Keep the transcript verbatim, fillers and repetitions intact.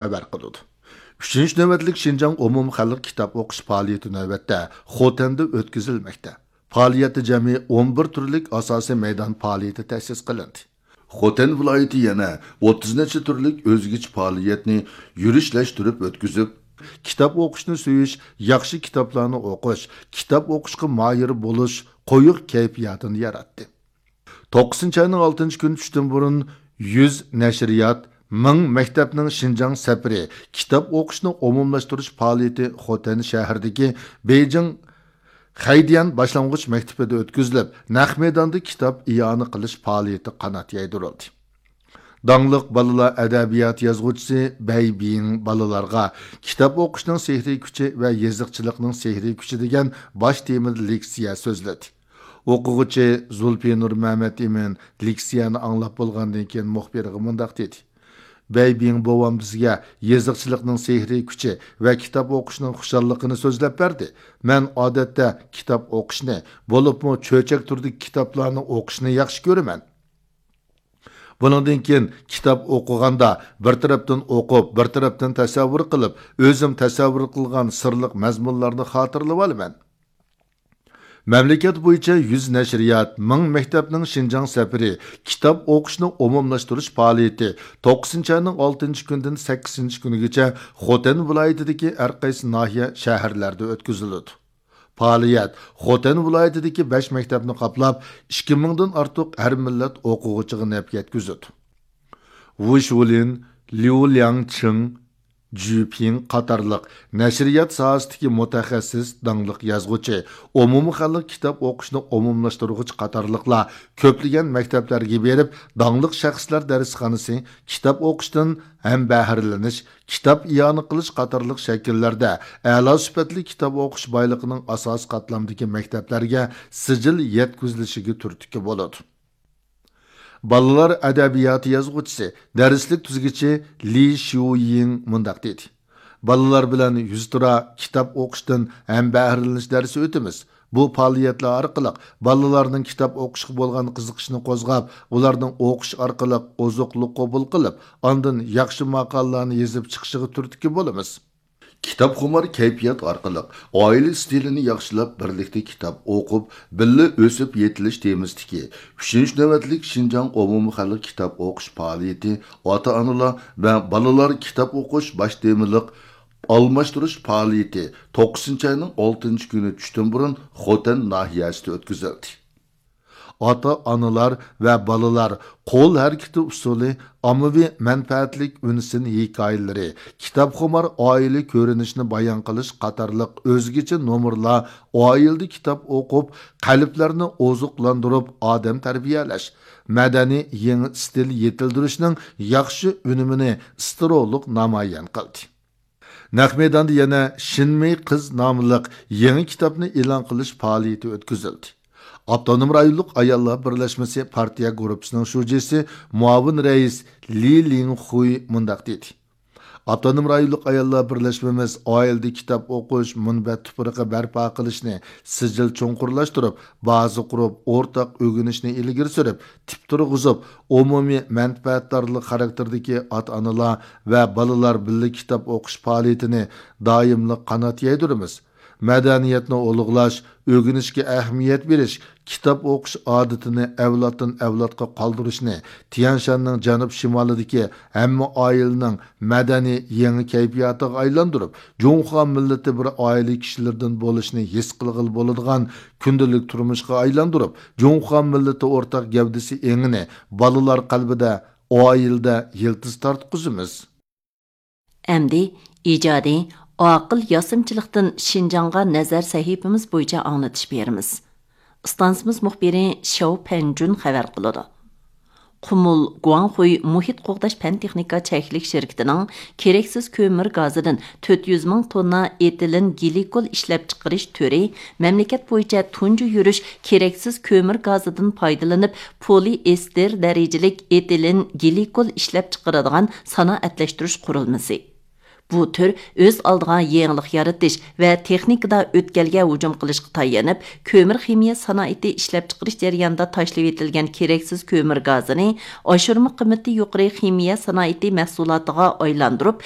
خەۋەر قىلىدۇ. ئۈچىنچى نۆۋەتلىك شىنجاڭ ئومۇمخەلق كىتاب ئوقۇش پائالىيىتى نۆۋەتتە خوتەندە ئۆتكۈزۈلمەكتە. پائالىيەتتە جەمئىي ئون بىر تۈرلۈك ئاساسىي مەيدان پائالىيىتى تەسىس قىلىندى. خوتەن ۋىلايىتى يەنە ئوتتۇز نەچچە تۈرلۈك ئۆزگىچە پائالىيەتنى يۈرۈشلەشتۈرۈپ ئۆتكۈزۈپ، كىتاب ئوقۇشنى سۆيۈش، ياخشى كىتابلارنى ئوقۇش، كىتاب ئوقۇشقا ماھىر بولۇش قويۇق كەيپىياتىنى ياراتتى. توققۇزىنچى ئاينىڭ ئالتىنچى كۈنى چۈشتىن بۇرۇن يۈز نەشرىيات، مىڭ مەكتەپنىڭ شىنجاڭ سەپىرى كىتاب ئوقۇشنى ئومۇملاشتۇرۇش پائالىيىتى خوتەن شەھىرىدىكى بېيجىڭ خەيدىيەن باشلانغۇچ مەكتىپىدە ئۆتكۈزۈلۈپ، نەق مەيداندا كىتاب ئىئانە قىلىش پائالىيىتى قانات يايدۇرۇلدى. داڭلىق بالىلار ئەدەبىيات يازغۇچىسى بەي بىڭ بالىلارغا كىتاب ئوقۇشنىڭ سېھرىي كۈچى ۋە يېزىقچىلىقنىڭ سېھرىي كۈچى دېگەن باش تېمىدا لېكسىيە سۆزلىدى. ئوقۇغۇچى زۇلپىنۇر مەمەتئىمىن لېكسىيەنى ئاڭلاپ بولغاندىن كېيىن مۇخبىرغا مۇنداق دېدى: بەي بىڭ بوۋام بىزگە يېزىقچىلىقنىڭ سېھرىي كۈچى ۋە كىتاب ئوقۇشنىڭ خۇشاللىقىنى سۆزلەپ بەردى. مەن ئادەتتە كىتاب ئوقۇشنى، بولۇپمۇ چۆچەك تۈرىدىكى كىتابلارنى ئوقۇشنى ياخشى كۆرىمەن. بۇنىڭدىن كېيىن كىتاب ئوقۇغاندا بىر تەرەپتىن ئوقۇپ، بىر تەرەپتىن تەسەۋۋۇر قىلىپ، ئۆزۈم تەسەۋۋۇر قىلغان سىرلىق مەزمۇنلارنى خاتىرىلىۋالىمەن. مەملىكەت بويىچە يۈز نەشرىيات، مىڭ مەكتەپنىڭ شىنجاڭ سەپىرى كىتاب ئوقۇشنى ئومۇملاشتۇرۇش پائالىيىتى توققۇزىنچى ئاينىڭ ئالتىنچى كۈنىدىن سەككىزىنچى كۈنىگىچە خوتەن ۋىلايىتىدىكى ھەر قايسى ناھىيە، شەھەرلەردە ئۆتكۈزۈلىدۇ. پائالىيەت خوتەن ۋىلايىتىدىكى بەش مەكتەپنى قاپلاپ، ئىككى مىڭدىن ئارتۇق ھەر مىللەت ئوقۇغۇچىغا نەپ يەتكۈزىدۇ. ۋۇ شۇلىن، ليۇ لياڭچىڭ، جۈ پىڭ قاتارلىق نەشرىيات ساھەسىدىكى مۇتەخەسسىس، داڭلىق يازغۇچى، ئومۇمخەلق كىتاب ئوقۇشنى ئومۇملاشتۇرغۇچى قاتارلىقلار كۆپلىگەن مەكتەپلەرگە بېرىپ، داڭلىق شەخسلەر دەرسخانىسى، كىتاب ئوقۇشتىن ھەم بەھرىلىنىش، كىتاب ئىئانە قىلىش قاتارلىق شەكىللەردە ئەلا سۈپەتلىك كىتاب ئوقۇش بايلىقىنىڭ ئاساسىي قاتلامدىكى مەكتەپلەرگە سىجىل يەتكۈزۈلۈشىگە تۈرتكە بولىدۇ. بالىلار ئەدەبىياتى يازغۇچىسى، دەرسلىك تۈزگۈچى لى شيۇيىڭ مۇنداق دېدى: بالىلار بىلەن يۈزتۇرا كىتاب ئوقۇشتىن ھەم بەھرىلىنىش دەرسى ئۆتىمىز. بۇ پائالىيەتلەر ئارقىلىق بالىلارنىڭ كىتاب ئوقۇشقا بولغان قىزىقىشىنى قوزغاپ، ئۇلارنىڭ ئوقۇش ئارقىلىق ئوزۇقلۇق قوبۇل قىلىپ، ئاندىن ياخشى ماقالىلەرنى يېزىپ چىقىشىغا تۈرتكە بولىمىز. كىتابخۇمار كەيپىيات ئارقىلىق ئائىلە ئىستىلىنى ياخشىلاپ، بىرلىكتە كىتاب ئوقۇپ، بىللە ئۆسۈپ يېتىلىش تېمىسىدىكى ئۈچىنچى نۆۋەتلىك شىنجاڭ ئومۇمخەلق كىتاب ئوقۇش پائالىيىتى ئاتا-ئانىلار ۋە بالىلار كىتاب ئوقۇش باش تېمىلىق ئالماشتۇرۇش پائالىيىتى توققۇزىنچى ئاينىڭ ئالتىنچى كۈنى چۈشتىن بۇرۇن خوتەن ناھىيەسىدە ئۆتكۈزۈلدى. ئاتا-ئانىلار ۋە بالىلار قول ھەرىكىتى ئۇسسۇلى، ئاممىۋى مەنپەئەتلىك ئۈنسىن ھېكايىلىرى، كىتابخۇمار ئائىلە كۆرۈنۈشىنى بايان قىلىش قاتارلىق ئۆزگىچە نومۇرلار ئائىلىدە كىتاب ئوقۇپ، قەلبلەرنى ئوزۇقلاندۇرۇپ، ئادەم تەربىيەلەش، مەدەنىي يېڭى ئىستىل يېتىلدۈرۈشنىڭ ياخشى ئۈنۈمىنى ئىستىرولۇق نامايان قىلدى. نەق مەيداندا يەنە شىنمېي قىز ناملىق يېڭى كىتابنى ئېلان قىلىش پائالىيىتى ئۆتكۈزۈلدى. ئاپتونوم رايونلۇق ئاياللار بىرلەشمىسى پارتىيە گۇرۇپپىسىنىڭ شۇجىسى، مۇئاۋىن رەئىس لى لىڭخۇي مۇنداق دېدى: ئاپتونوم رايونلۇق ئاياللار بىرلەشمىمىز ئائىلىدە كىتاب ئوقۇش مۇنبەت تۇپرىقى بەرپا قىلىشنى سىجىل چوڭقۇرلاشتۇرۇپ، بازا قۇرۇپ، ئورتاق ئۆگىنىشنى ئىلگىرى سۈرۈپ، تىپ تۇرغۇزۇپ، ئومۇمىي مەنپەئەتدارلىق خاراكتېرىدىكى ئاتا-ئانىلار ۋە بالىلار بىللە كىتاب ئوقۇش پائالىيىتىنى دائىملىق قانات يايدۇرىمىز. مەدەنىيەتنى ئۇلۇغلاش، ئۆگىنىشكە ئەھمىيەت بېرىش، كىتاب ئوقۇش ئادىتىنى ئەۋلادتىن ئەۋلادقا قالدۇرۇشنى تيەنشاننىڭ جەنۇب شىمالىدىكى ھەممە ئائىلىنىڭ مەدەنىي يېڭى كەيپىياتىغا ئايلاندۇرۇپ، جۇڭخۇا مىللىتى بىر ئائىلە كىشىلىرىدىن بولۇشنى ھېس قىلغىلى بولىدىغان كۈندىلىك تۇرمۇشقا ئايلاندۇرۇپ، جۇڭخۇا مىللىتى ئورتاق گەۋدىسى ئېڭىنى بالىلار قەلبىدە، ئائىلىدە يىلتىز تارتقۇزىمىز. ئەمدى ئىجادىي، ئاقىل ياسىمىچىلىقتىن شىنجاڭغا نەزەر سەھىپىمىز بويىچە ئاڭلىتىش بېرىمىز. ئىستانسىمىز مۇخبىرى شياۋ پەنجۈن خەۋەر قىلىدۇ. قۇمۇل گۇاڭخۇي مۇھىت قوغداش پەن تېخنىكا چەكلىك شىركىتىنىڭ كېرەكسىز كۆمۈر گازىدىن تۆت يۈز مىڭ توننا ئېتىلېن گلىكول ئىشلەپچىقىرىش تۈرى مەملىكەت بويىچە تۇنجى يۈرۈش كېرەكسىز كۆمۈر گازىدىن پايدىلىنىپ، پولىئېستېر دەرىجىلىك ئېتىلېن گلىكول ئىشلەپچىقىرىدىغان سانائەتلەشتۈرۈش قۇرۇلمىسى. بۇ تۈر ئۆز ئالدىغا يېڭىلىق يارىتىش ۋە تېخنىكىدا ئۆتكەلگە ھۇجۇم قىلىشقا تايىنىپ، كۆمۈر خىمىيە سانائىتى ئىشلەپچىقىرىش جەريانىدا تاشلىۋېتىلگەن كېرەكسىز كۆمۈر گازىنى ئاشۇرما قىممىتى يۇقىرى خىمىيە سانائىتى مەھسۇلاتىغا ئايلاندۇرۇپ،